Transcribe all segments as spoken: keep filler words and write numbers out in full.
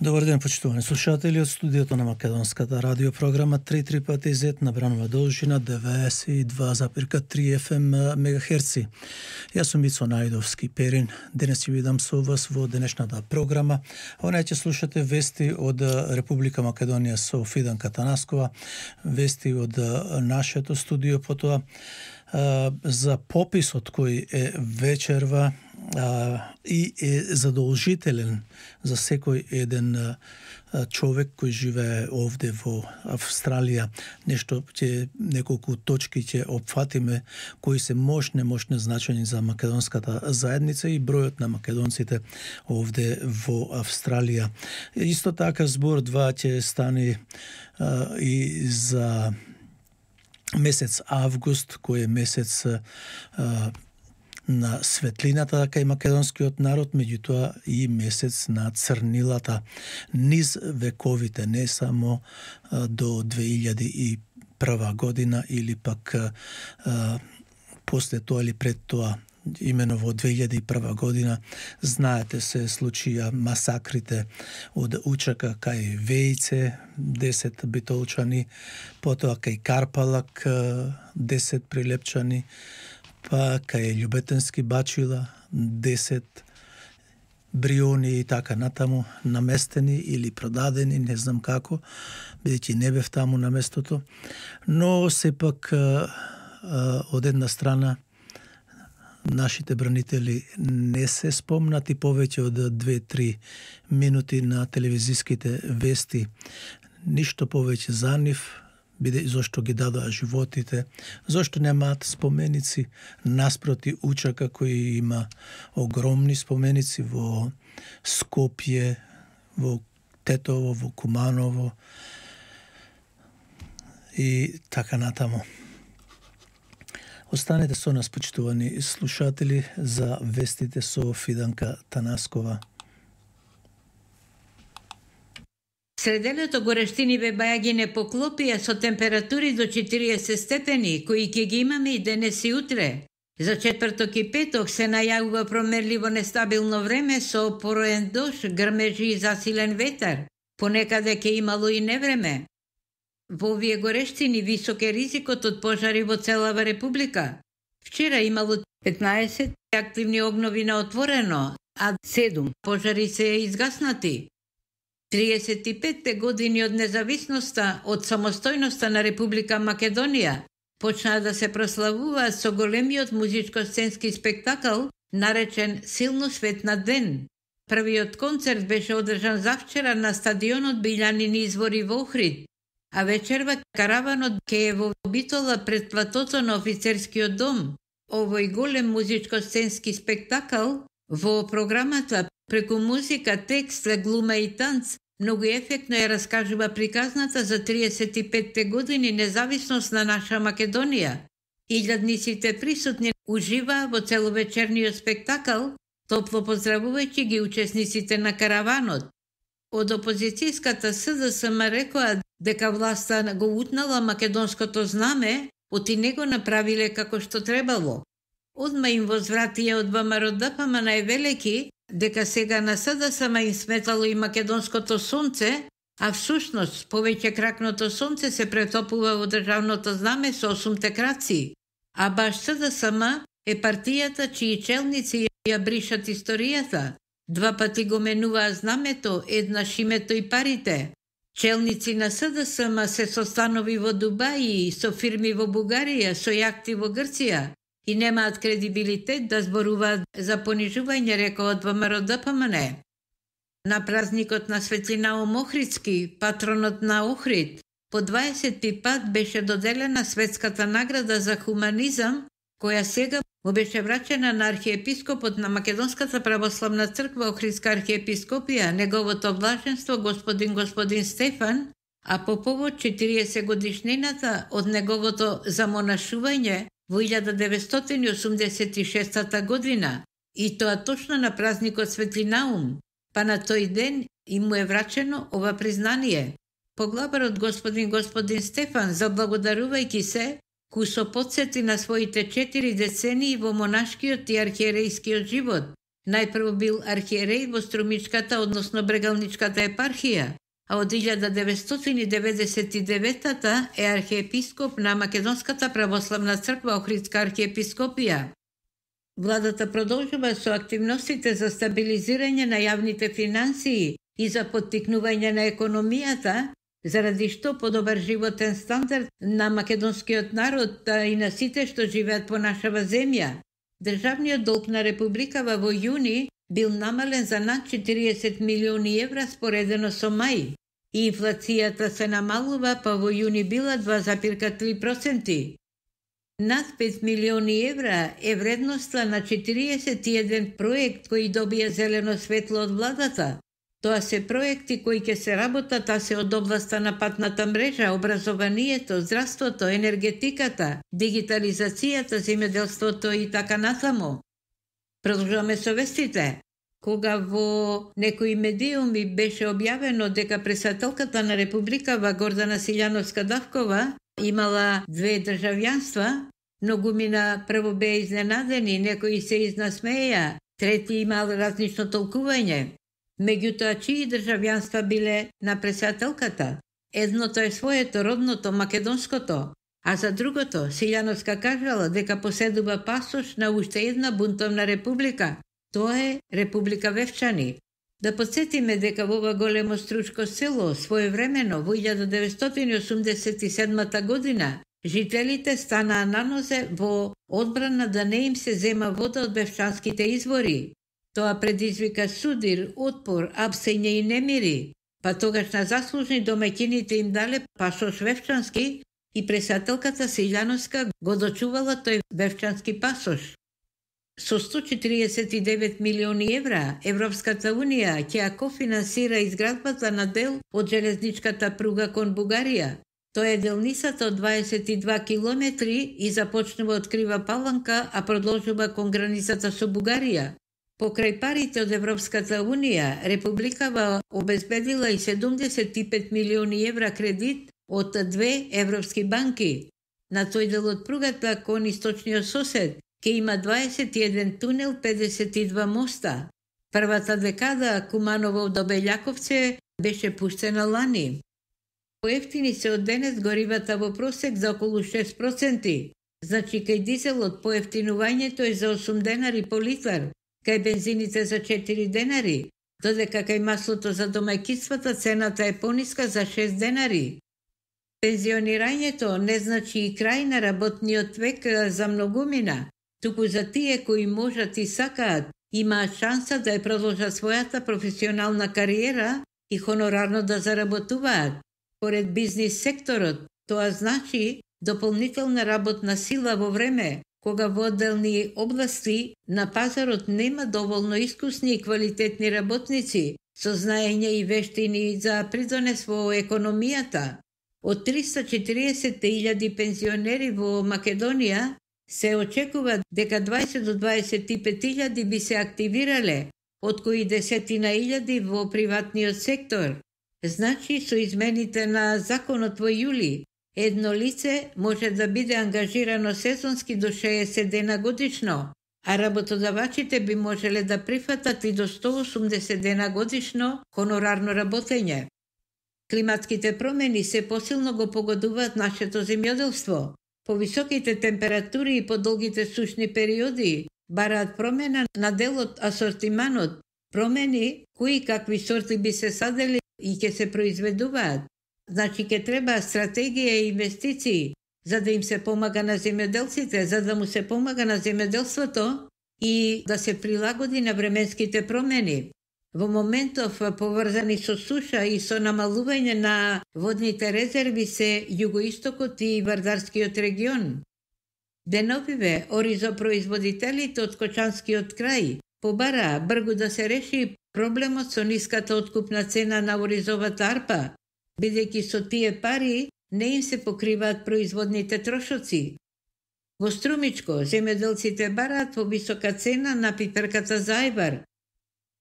Добар ден, почитувани слушатели од студиото на Македонската радиопрограма три три пати зет на бранова должина деветдесет и два запирка три еф ем мегахерци. Јас сум Мицо Најдовски Перин. Денес ќе бидам со вас во денешната програма. Она ќе слушате вести од Република Македонија со Фиданка Танаскова, вести од нашето студио, потоа за пописот кој е вечерва а, и е задолжителен за секој еден а, човек кој живее овде во Австралија. Нешто ќе неколку точки ќе опфатиме кои се мощне мощне значени за македонската заедница и бројот на македонците овде во Австралија. Исто така збор два ќе стане а, и за месец август, кој е месец а, на светлината кај македонскиот народ, меѓутоа и месец на црнилата низ вековите, не само а, до две илјади и прва година или пак а, после тоа или пред тоа. Имено во две илјади и прва година, знаете, се случија масакрите од Учака кај Вејце, десет битолчани, потоа кај Карпалак, десет прилепчани, па кај Љубетенски Бачила, десет бриони и така натаму, наместени или продадени, не знам како, бидејќи не бев таму на местото, но сепак од една страна нашите бранители не се спомнати повеќе од две-три минути на телевизиските вести. Ништо повеќе за нив, биде зошто ги дадоа животите, зошто немаат споменици наспроти Учака кој има огромни споменици во Скопје, во Тетово, во Куманово и така натаму. Останете со нас, почитувани слушатели, за вестите со Фиданка Танаскова. Сределото горештини бебаја ги не поклопија со температури до четириесет степени, кои ќе ги имаме и денес и утре. За четврток и петок се најавува промерливо нестабилно време со пороен дожд, грмежи и засилен ветар. Понекаде ќе имало и невреме. Во овие горештини висок е ризикот од пожари во целава република. Вчера имало петнаесет активни огнови на отворено, а седум пожари се изгаснати. триесет и петте години од независноста, од самостојноста на Република Македонија, почнаа да се прославуваат со големиот музичко-сценски спектакл, наречен Силно светна ден. Првиот концерт беше одржан завчера на стадионот Билјанини извори во Охрид, а вечерва караванот ке е во Битола пред платото на офицерскиот дом. Овој голем музичко-сценски спектакл во програмата преку музика, текст, глума и танц многу ефектно ја раскажува приказната за триесет и петте години независност на наша Македонија. Илјадниците присутни уживаа во целовечерниот спектакл, топло поздравувајќи ги учесниците на караванот. Од опозицијската С Д С М рекоа дека власта го утнала македонското знаме, оти не го направиле како што требало. Одма им возвратија од Вэ М Р Д П М највелеки дека сега на С Д С М им сметало и македонското сонце, а всушност повеќе кракното сонце се претопува во државното знаме со осумте краци. А баш С Д С М е партијата чии челници ја бришат историјата. Два пати го менуваа знамето, еднаш името и парите. Челници на С Д С М се со станови во Дубај, со фирми во Бугарија, со јахти во Грција и немаат кредибилитет да зборуваат за понижување, рекоа од Вэ М Р Д П М Н. На празникот на Светлинаум Охридски, патронот на Охрид, по дваесети пат беше доделена светската награда за хуманизам, која сега му беше врачена на архиепископот на Македонската православна црква Охридска архиепископија, неговото блаженство господин господин Стефан, а по повод четириесет годишнината од неговото замонашување во илјада деветстотини и осумдесет и шеста година, и тоа точно на празникот Светлинаум, па на тој ден и му е врачено ова признание. Поглаварот господин господин Стефан, заблагодарувајќи се, кој со потсети на своите четири децении во монашкиот и архиерејскиот живот, Најпрво бил архиерей во Струмичката, односно Брегалничката епархија, а од илјада деветстотини деветдесет и девета е архиепископ на Македонската православна црква Охридска архиепископија. Владата продолжува со активностите за стабилизирање на јавните финансии и за поттикнување на економијата, заради што подобар животен стандард на македонскиот народ и на сите што живеат по нашава земја. Државниот долг на републикава во јуни бил намален за над четириесет милиони евра споредено со мај. И инфлацијата се намалува, па во јуни била два запирка три проценти. Над пет милиони евра е вредноста на четириесет и еден проект кои добија зелено светло од владата. Тоа се проекти кои ќе се работат, а се од областа на патната мрежа, образованието, здравството, енергетиката, дигитализацијата, земјоделството и така натаму. Продолжуваме со вестите. Кога во некои медиуми беше објавено дека председателката на републикава Гордана Силјановска-Давкова имала две државјанства, многумина прво беа изненадени, некои се изнасмеја, трети имал различно толкување. Меѓутоа, чии државјанства биле на председателката? Едното е своето, родното, македонското, а за другото, Силјановска кажала дека поседува пасош на уште една бунтовна република. Тоа е Република Вевчани. Да подсетиме дека во ова големо стручко село, своевремено во илјада деветстотини осумдесет и седма година, жителите станаа на нозе во одбрана да не им се зема вода од бевчанските извори. Тоа предизвика судир, отпор, апсење и немири, па тогаш на заслужни домаќините им дале пасош вевчански и председателката Силјановска го дочувала тој вевчански пасош. Со сто четириесет и девет милиони евра, Европската унија ќе ја кофинансира изградбата на дел од железничката пруга кон Бугарија. Тоа е делницата од дваесет и два километри и започнува од Крива Паланка, а продолжува кон границата со Бугарија. Покрај парите од Европската унија, републикава обезбедила и седумдесет и пет милиони евра кредит од две европски банки. На тој дел од пругата кон источниот сосед ке има дваесет и еден тунел, педесет и два моста. Првата декада Куманово до Белјаковце беше пуштена лани. Поевтини се од денес горивата во просек за околу шест проценти. Значи кај дизелот поевтинувањето е за осум денари по литар, кај бензините за четири денари, додека кај маслото за домаќинствата цената е пониска за шест денари. Пензионирањето не значи и крај на работниот век за многумина, туку за тие кои можат и сакаат, имаат шанса да ја продолжат својата професионална кариера и хонорарно да заработуваат. Поред бизнис секторот, тоа значи дополнителна работна сила во време кога во одделни области на пазарот нема доволно искусни и квалитетни работници со знаење и вештини за придонес во економијата. Од триста и четириесет илјади пензионери во Македонија се очекува дека дваесет до дваесет и пет илјади би се активирале, од кои десетина илјади во приватниот сектор. Значи, со измените на законот во јули, едно лице може да биде ангажирано сезонски до шеесет дена годишно, а работодавачите би можеле да прифатат и до сто осумдесет дена годишно хонорарно работење. Климатските промени се посилно го погодуваат нашето земјоделство. Повисоките температури и подолгите сушни периоди бараат промена на делот асортиманот, промени кои какви сорти би се садели и ќе се произведуваат. Значи ќе треба стратегија и инвестиции за да им се помага на земјоделците, за да му се помага на земјоделството и да се прилагоди на временските промени. Во моментов поврзани со суша и со намалување на водните резерви се југоистокот и Вардарскиот регион. Деновиве оризопроизводителите од Кочанскиот крај побараа бргу да се реши проблемот со ниската откупна цена на оризовата арпа, бидејќи со тие пари не им се покриваат производните трошоци. Во Струмичко земјоделците бараат повисока цена на пиперката за ајвар,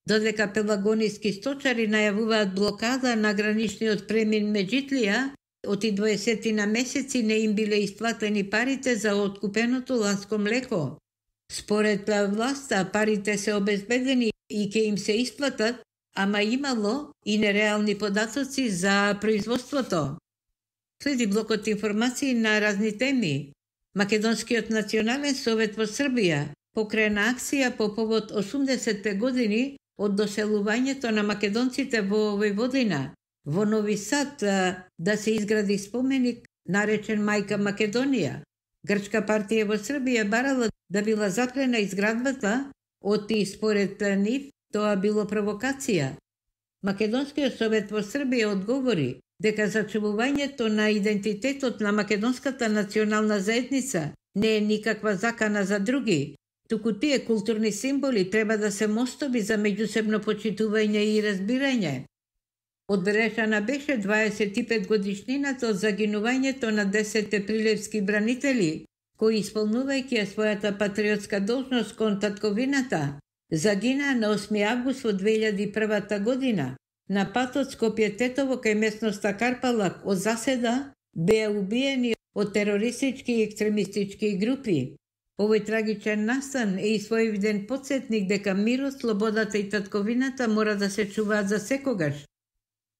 додека пелагониски сточари најавуваат блокада на граничниот премин Меджитлија, од и дваесет на месеци не им биле исплатени парите за откупеното ланско млеко. Според власта, парите се обезбедени и ќе им се исплатат, ама имало и нереални податоци за производството. Следи блокот информации на разни теми. Македонскиот национален совет во Србија покрена акција по повод осумдесетте години од доселувањето на македонците во Војводина. Во Нови Сад да се изгради споменик наречен Мајка Македонија. Грчка партија во Србија барала да била запрена изградбата, оти според нив тоа било провокација. Македонскиот совет во Србија одговори дека зачувувањето на идентитетот на македонската национална заедница не е никаква закана за други, туку тие културни символи треба да се мостови за меѓусебно почитување и разбирање. Одбележана беше дваесет и пет годишнината од загинувањето на десетте прилепски бранители, кои исполнувајќи својата патриотска должност кон татковината, загинаа на осми август во две илјади и прва година. На патот Скопје-Тетово кај местноста Карпалак од заседа беа убиени од терористички и екстремистички групи. Овој трагичен настан е и своевиден подсетник дека мирот, слободата и татковината мора да се чуваат за секогаш.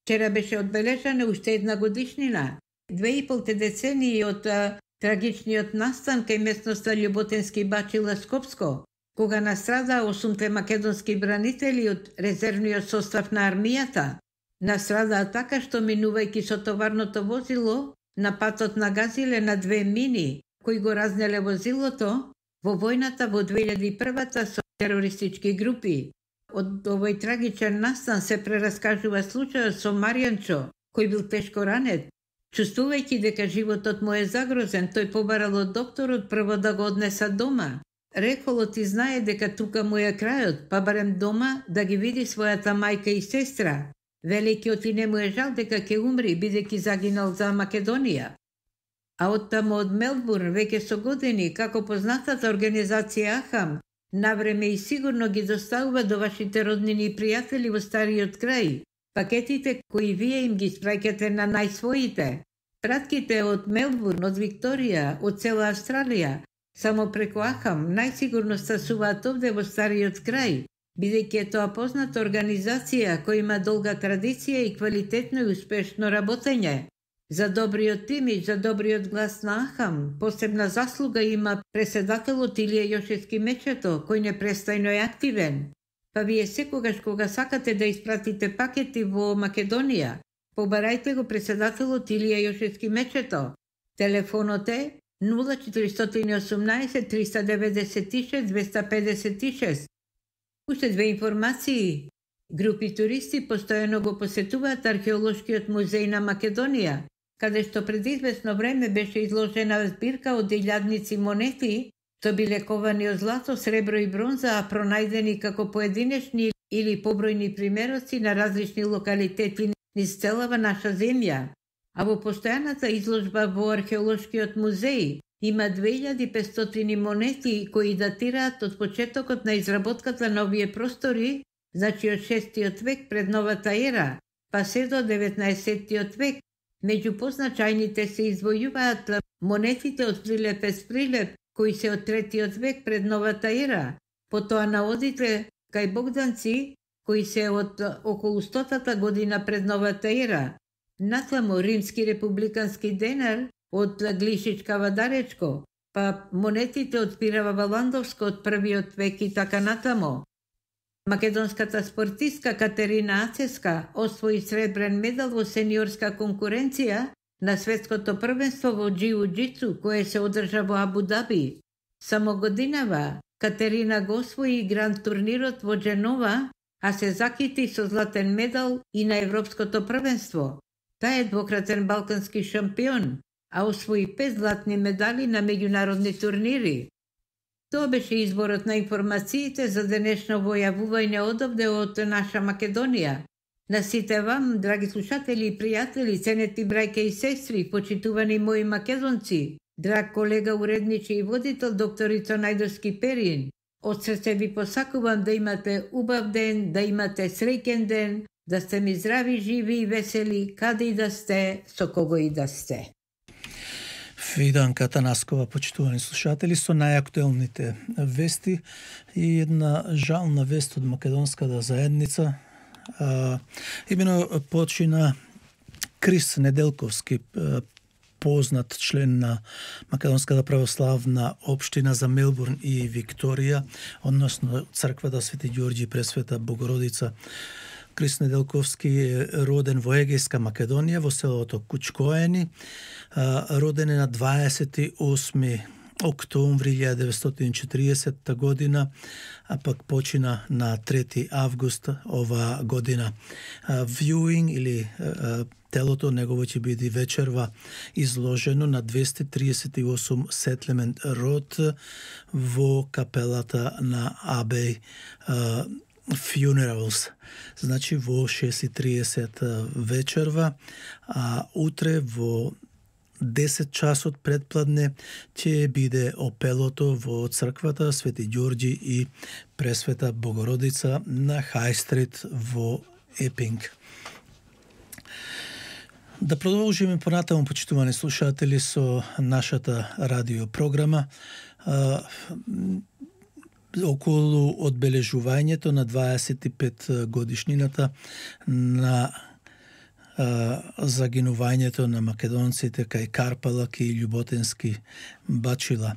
Вчера беше одбележана уште една годишнина, две и полте децении од а, трагичниот настан кај местноста Љуботенски Бачила Скопско, кога настрада осумте македонски бранители од резервниот состав на армијата. Настрадаа така што минувајќи со товарното возило, на патот нагазиле на две мини, кои го разнеле возилото во војната во две илјади и прва со терористички групи. Од овој трагичен настан се прераскажува случајот со Маријанчо, кој бил тешко ранет. Чувствувајќи дека животот му е загрозен, тој побарал од докторот прво да го однеса дома. Рекол, ти знае дека тука му е крајот, па барем дома да ги види својата мајка и сестра. Великиот и не му е жал дека ќе умри, бидејќи загинал за Македонија. А оттаму од Мелбурн, веќе со години, како познатата организација Ахам, навреме и сигурно ги доставува до вашите роднини и пријатели во стариот крај пакетите кои вие им ги спраќате на најсвоите. Пратките од Мелбурн, од Викторија, од цела Австралија, само преку Ахам најсигурно стасуваат овде во стариот крај, бидејќи е тоа позната организација која има долга традиција и квалитетно и успешно работење. За добриот имидж, за добриот глас на Ахам, посебна заслуга има преседателот Илија Јошевски Мечето, кој непрестајно е активен. Па вие секогаш кога сакате да испратите пакети во Македонија, побарајте го преседателот Илија Јошевски Мечето. Телефонот е нула четиристотини и осумнаесет триста деветдесет и шест двеста педесет и шест. Уште две информации. Групи туристи постојано го посетуваат археолошкиот музеј на Македонија, каде што пред известно време беше изложена збирка од илјадници монети, што биле ковани од злато, сребро и бронза, а пронајдени како поединечни или побројни примероци на различни локалитети низ целава наша земја. А во постојаната изложба во археолошкиот музеј има две илјади петстотини монети кои датираат од почетокот на изработката на овие простори, значи од шестиот век пред новата ера, па се до деветнаесеттиот век. Меѓу позначајните се извојуваат монетите од Прилепец Прилеп, кои се од третиот век пред новата ера, потоа наодите кај Богданци, кои се од околу стотата година пред новата ера, натаму римски републикански денар од Глишичка Вадаречко, па монетите од Пирава Валандовско од првиот век и така натаму. Македонската спортистка Катерина Ацеска освои сребрен медал во сениорска конкуренција на светското првенство во џиу-џицу кое се одржа во Абу Даби. Само годинава Катерина го освои гранд турнирот во Дженова, а се закити со златен медал и на Европското првенство. Таа е двократен балкански шампион, а освои пет златни медали на меѓународни турнири. Тоа беше изборот на информациите за денешно војавување одовде од наша Македонија. На сите вам, драги слушатели и пријатели, ценети брајке и сестри, почитувани мои македонци, драг колега уредничи и водител докторица Најдовски Перин, од срце ви посакувам да имате убав ден, да имате среќен ден, да сте ми здрави, живи и весели, каде и да сте, со кого и да сте. Виданка Танаскова, почитувани слушатели, со најактуелните вести и една жална вест од македонската заедница. А, имено почина Крис Неделковски, познат член на Македонската православна општина за Мелбурн и Викторија, односно црквата Свети Ѓорѓи Пресвета Богородица. Крис Неделковски е роден во Егејска Македонија, во селото Кучкоени. Роден е на дваесет и осми октомври илјадесетстотини деветстотини и четиридесета година, а пак почина на трети август ова година. Viewing или телото негово ќе биде вечерва изложено на двесте триесет и осум Settlement Road во капелата на Abbey Funerals. Значи во шест и триесет вечерва, а утре во десет часот предпладне ќе биде опелото во црквата Свети Ѓорѓи и Пресвета Богородица на Хай Стрит во Епинг. Да продолжиме понатаму, почитувани слушатели, со нашата радиопрограма. Околу одбележувањето на дваесет и пет годишнината на а, загинувањето на македонците кај Карпалак и Љуботенски Бачила.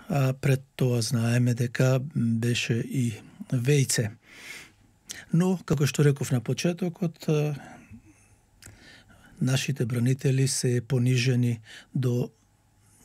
А пред тоа знаеме дека беше и Вејце. Но, како што реков на почетокот, нашите бранители се понижени до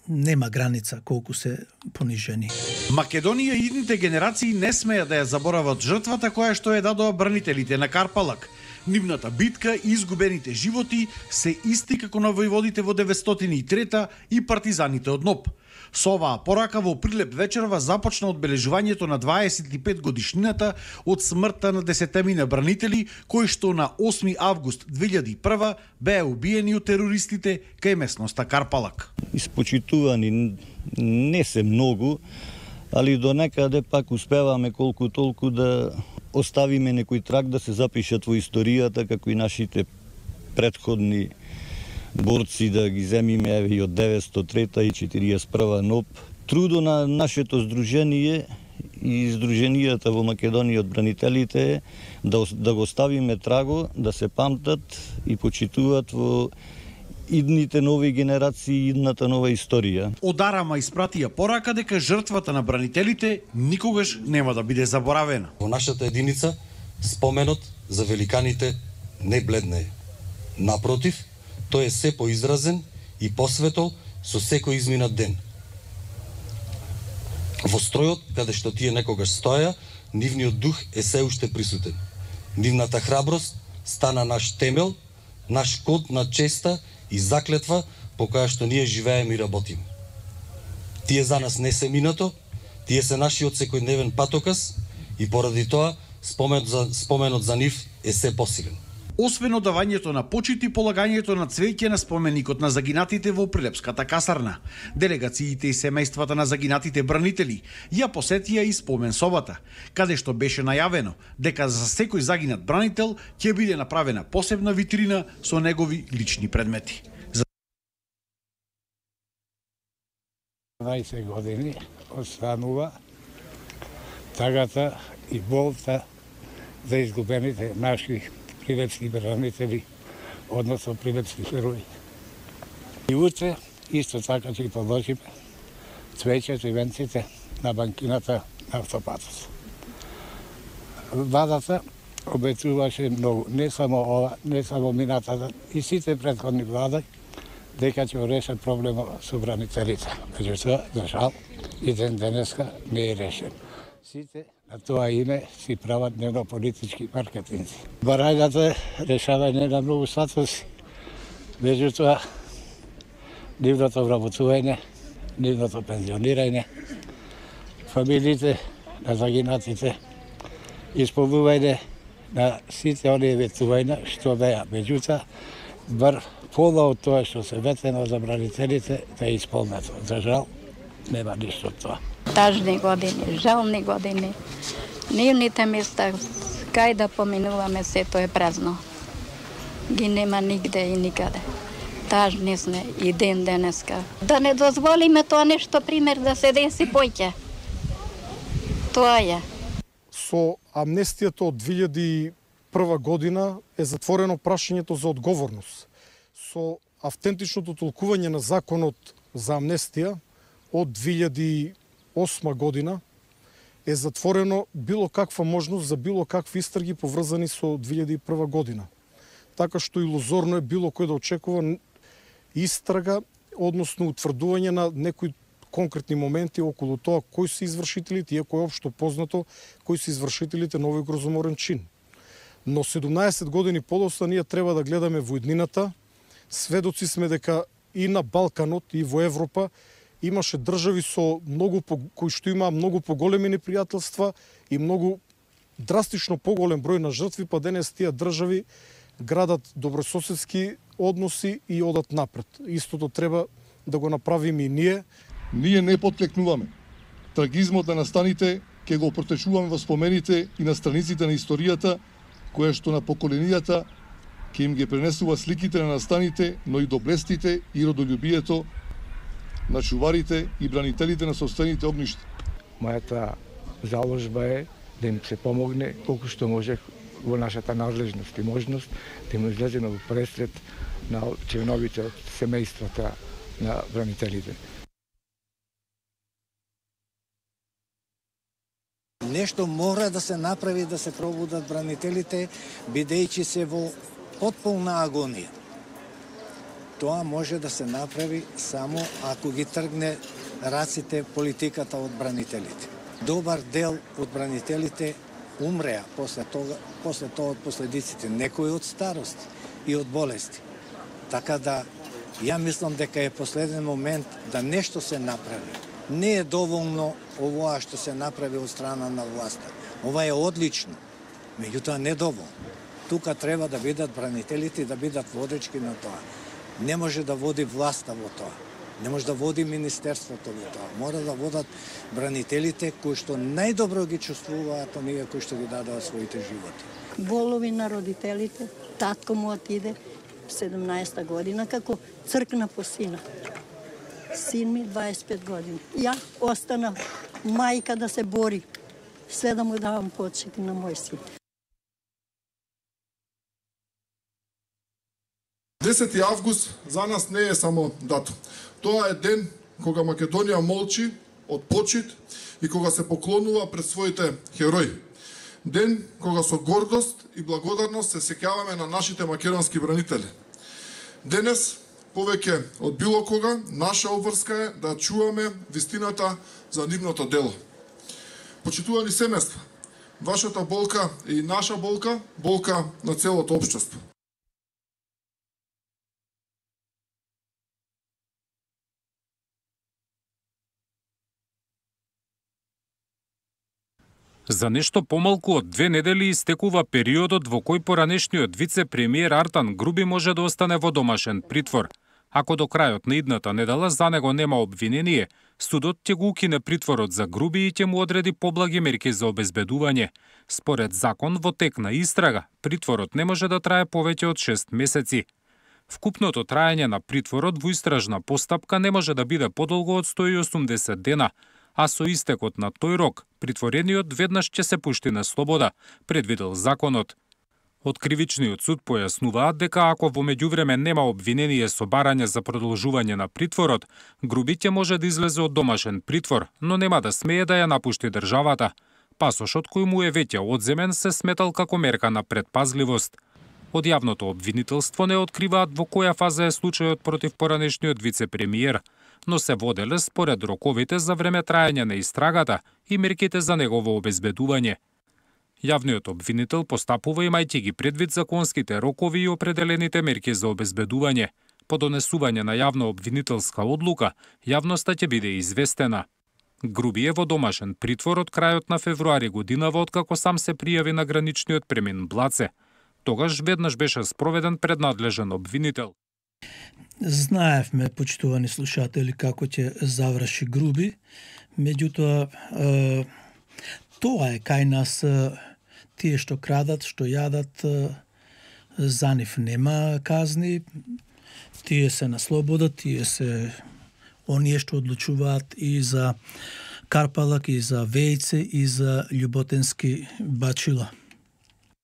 нема граница колку се понижени. Македонија и идните генерации не смеја да ја заборават жртвата која што ја дадоа бранителите на Карпалак. Нивната битка и изгубените животи се исти како на војводите во деветстотини и трета и партизаните од НОП. Со оваа порака во Прилеп вечерва започна одбележувањето на дваесет и пет годишнината од смртта на десетемина бранители кои што на осми август две илјади и прва беа убиени од терористите кај местноста Карпалак. Испочитувани не се многу, али до некаде пак успеваме колку толку да оставиме некој траг, да се запишат во историјата како и нашите претходни борци, да ги земиме еве и од деветстотини и трета и четириесет и прва НОП. Трудо на нашето здружение и здруженијата во Македонија од бранителите е да, да го ставиме траго, да се памтат и почитуваат во идните нови генерации, идната нова историја. Од Арама испратија порака дека жртвата на бранителите никогаш нема да биде заборавена. Во нашата единица споменот за великаните не бледне. Напротив, тој е се поизразен и посветол со секој изминат ден. Во стројот, каде што тие некогаш стоја, нивниот дух е се уште присутен. Нивната храброст стана наш темел, наш код на честа и заклетва по која што ние живееме и работиме. Тие за нас не се минато, тие се нашиот секојдневен патоказ и поради тоа споменот за, споменот за нив е се посилен. Освен одавањето на почит и полагањето на цвеќе на споменикот на загинатите во Прилепската касарна, делегациите и семејствата на загинатите бранители ја посетија и спомен собата, каде што беше најавено дека за секој загинат бранител ќе биде направена посебна витрина со негови лични предмети. дваесет години останува тагата и болта за изгубените наши прилепски бранители, односно прилепски херои. И утре исто така ќе положиме цвеќето и венците на банкината на автопатот. Владата обетуваше многу, не само ова, не само минатата, и сите претходни влади, дека ќе решат проблемот со бранителите. Меѓутоа, за жал, и ден денеска не е решен. Сите на тоа име си прават дневно-политички маркетинзи. Барањата решавање на многу статуси, меѓутоа нивното вработување, нивното пензионирање, фамилиите на загинатите, исполнување на сите оние ветувања што беа. Меѓутоа, бар пола од тоа што се ветено за бранителите да е исполнето. За жал, нема ништо од тоа. Тажни години, жални години. Нивните места, кај да поминуваме, сето е празно. Ги нема нигде и никаде. тажни сме и ден денеска. Да не дозволиме тоа нешто пример да се деси поќе. Тоа е. Со амнестијата од две илјади и прва година е затворено прашањето за одговорност. Со автентичното толкување на законот за амнестија од две илјади и осма година е затворено било каква можност за било какви истраги поврзани со две илјади и прва година. Така што илузорно е било кој да очекува истрага, односно утврдување на некои конкретни моменти околу тоа кои се извршителите, иако е општо познато кои се извршителите на овој грозоморен чин. Но седумнаесет години подоцна ние треба да гледаме во иднината. Сведоци сме дека и на Балканот и во Европа имаше држави со многу кои што имаа многу поголеми непријателства и многу драстично поголем број на жртви, па денес тие држави градат добрососедски односи и одат напред. Истото треба да го направиме и ние. Ние не потклекнуваме. Трагизмот на настаните ќе го протечуваме во спомените и на страниците на историјата, која што на поколенијата ќе им ги пренесува сликите на настаните, но и доблестите и родолюбието на чуварите и бранителите на собствените огништа. Мојата заложба е да им се помогне колку што може во нашата надлежност и можност да им излеземе во пресред на членовите од семејствата на бранителите. Нешто мора да се направи да се пробудат бранителите, бидејќи се во потполна агонија. Тоа може да се направи само ако ги тргне раците политиката од бранителите. Добар дел од бранителите умреа после тоа, после тоа од последиците, некои од старост и од болести. Така да, ја мислам дека е последен момент да нешто се направи. Не е доволно овоа што се направи од страна на власта. Ова е одлично, меѓутоа не доволно. Тука треба да бидат бранителите и да бидат водечки на тоа. Не може да води власта во тоа. Не може да води министерството во тоа. Мора да водат бранителите кои што најдобро ги чувствуваат оние кои што ги дадоа своите животи. Болови на родителите, татко му отиде седумнаесета година како цркна по сина. Син ми дваесет и пет години. Ја остана мајка да се бори. Све да му давам почит на мој син. десети август за нас не е само датум. Тоа е ден кога Македонија молчи од почит и кога се поклонува пред своите херои. Ден кога со гордост и благодарност се сеќаваме на нашите македонски бранители. Денес, повеќе од било кога, наша обврска е да чуваме вистината за нивното дело. Почитувани семејства, вашата болка е и наша болка, болка на целото општество. За нешто помалку од две недели истекува периодот во кој поранешниот вице-премиер Артан Груби може да остане во домашен притвор. Ако до крајот на идната недела за него нема обвинение, судот ќе го укине притворот за Груби и ќе му одреди поблаги мерки за обезбедување. Според закон, во тек на истрага, притворот не може да трае повеќе од шест месеци. Вкупното траење на притворот во истражна постапка не може да биде подолго од сто и осумдесет дена, а со истекот на тој рок, притворениот веднаш ќе се пушти на слобода, предвидел законот. Од кривичниот суд појаснуваат дека ако во меѓувреме нема обвинение со барање за продолжување на притворот, Груби ќе може да излезе од домашен притвор, но нема да смее да ја напушти државата. Пасошот кој му е веќе одземен се сметал како мерка на предпазливост. Од јавното обвинителство не откриваат во која фаза е случајот против поранешниот вице-премиер, но се воделе според роковите за време траење на истрагата и мерките за негово обезбедување. Јавниот обвинител постапува имајќи ги предвид законските рокови и определените мерки за обезбедување. По донесување на јавна обвинителска одлука, јавноста ќе биде известена. Груби е во домашен притвор од крајот на февруари годинава откако сам се пријави на граничниот премин Блаце. Тогаш веднаш беше спроведен пред надлежен обвинител. Знаевме, почитувани слушатели, како ќе заврши Груби, меѓутоа е, тоа е кај нас, е, тие што крадат, што јадат, е, за нив нема казни, Тие се на слобода, тие се оние што одлучуваат и за Карпалак, и за Вејце, и за Љуботенски бачила.